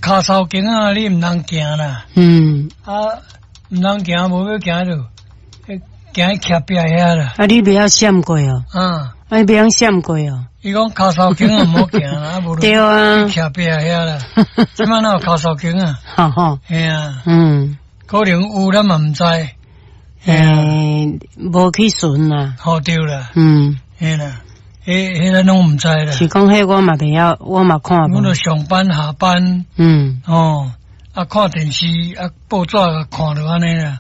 跤梢間仔，你毋通行啦。啊，毋通行，無欲行著，行去徛壁遐啦。啊，你袂曉閃過哦？啊。啊，你袂曉閃過哦？伊講跤梢間仔毋好行啦，啊無對啊。徛壁遐啦。這擺哪有跤梢間仔？吼吼。嘿啊。可能有，咱嘛毋知。欸，無去巡啦。好對啦。嘿啦，彼咱攏毋知啦。是講彼我嘛袂曉，我嘛看無。阮著上班下班。哦，啊，看電視，啊，報紙共看著按呢啦。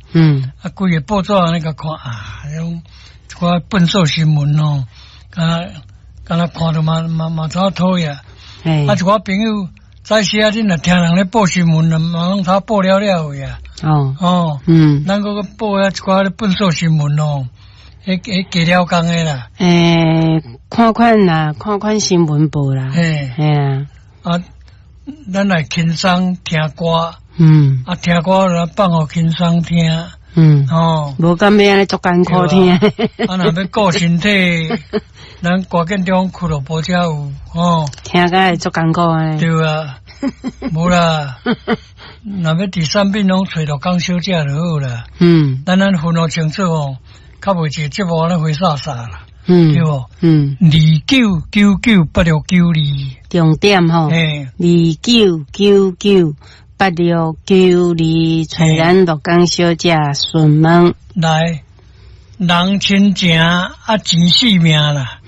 啊，規个報紙按呢共看啊，彼種一寡糞掃新聞哦，敢若敢若看著嘛嘛嘛真討厭。啊，一寡朋友早時啊，恁若聽人咧報新聞，嘛攏頭報了了去啊。哦。咱閣閣報遐一寡咧糞掃新聞哦，彼加了工的啦。欸，看款啦，看款新聞報啦。嘿。嘿啊。啊，咱來輕鬆聽歌。啊，聽歌就放予輕鬆聽。哦。無敢欲按呢足艱苦聽。啊，若欲顧身體，咱趕緊中俱樂部才有哦。聽甲會足艱苦的。對啊，無啦。若欲佇產品攏揣陸江小姐就好啦。咱分予清楚哦，較袂一個節目按呢花灑灑啦。對無？29998692。重點吼。嘿。29998692，揣咱陸江小姐詢問。來，人親情啊，錢性命啦。